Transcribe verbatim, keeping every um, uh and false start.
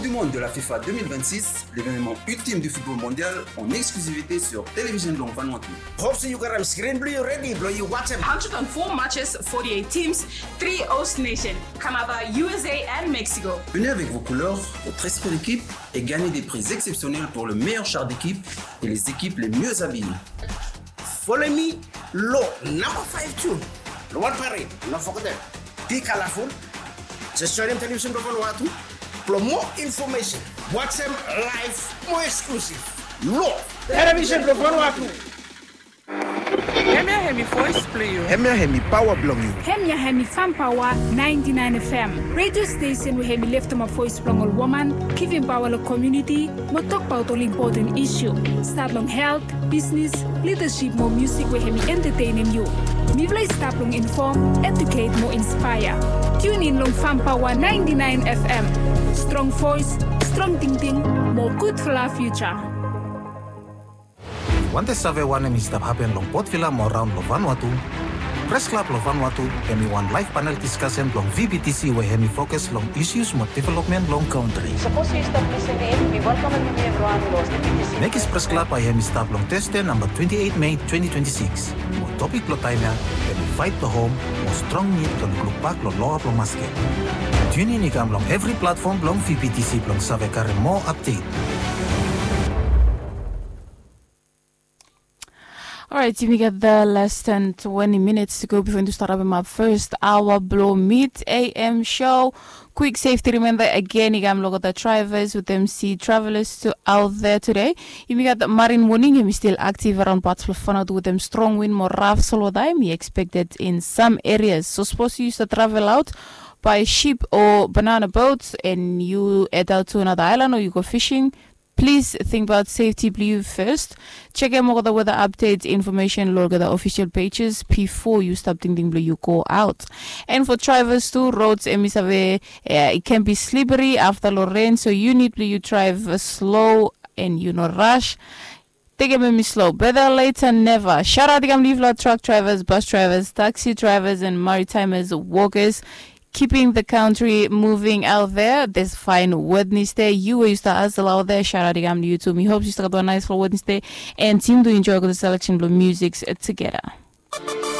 Du monde de la FIFA deux mille vingt-six, l'événement ultime du football mondial en exclusivité sur Télévision Long Vanuatu. Hope se yu gat am screen blong yu ready blong yu watch am. Hundred and four matches, forty-eight teams, three host nation, Canada, U S A and Mexico. Venez avec vos couleurs, votre esprit d'équipe et gagnez des prix exceptionnels pour le meilleur char d'équipe et les équipes les mieux habillées. Follow me long number five tune. Long wan parade, no forget dem. Be colorful. Just join dem Television Vanuatu. Blong more information, watch dem live, more exclusive. Long Television Vanuatu. Hemia hemi voice blong yu. Hemia hemi paoa blong yu. Hemia hemi Fam Paoa ninety-nine F M, radio station we hemi leftemap voice blong ol woman, givim paoa long komuniti, mo tokbaot ol impoten isu. Stat long helt, bisnis, lidasip mo musik we hemi entetenem yu. Mifala i stap long infom, eduket mo inspaea. Tune in long Fam Paoa ninety-nine F M. Strong voice, strong tingting, mo gudfala fiuja. Yu wantem save wanem i stap hapen long Port Vila mo raon long Vanuatu? Pres Klab long Vanuatu hemi wan laef panel diskasen blong V B T C we hemi fokus long isus mo developmen blong kantri. Sapos yu stap lisin in, mi welkamem yumi evriwan long V B T C. Mekis Pres Klab bae hemi stap long Teste namba twenti eit Mei twenti twenti sikis. Mo topik blong taem ya hemi Fight the Home mo strong nid blong lukluk bak long loa blong masket. Tune in i kam long evri platfom blong V B T C blong save karem moa apdet. Orait, yumi gat the less than twenty minutes to go before yumi start having our first hour blong Mid A M show. Quick safety reminder again, i kam long the drivers with M C travelers to out there today. Yumi gat the marine warning, yumi still active around parts of Vanuatu with them strong wind mo raf solo time. We expected in some areas. So suppose you used to travel out by ship or banana boat and you head out to another island or you go fishing, please think about safety blong yu first. Jekem olgeta weather update information long olgeta official pages before you stap tingting blong yu go out. And for drivers too, roads hemi save, eh, it can be slippery afta long rain, so you need blong yu drive, uh, slow and you no rush. Tekem hemi slow. Better late than never. Shout out i kam long yufala truck drivers, bus drivers, taxi drivers and maritimers workers. Keeping the country moving out there. This fine Wednesday, yu we yu stap hustle out there, shout out i kam long yu tu. Mi hope yu stap gat wan nice long Wednesday, and yumi tu enjoy olgeta selection blong music together.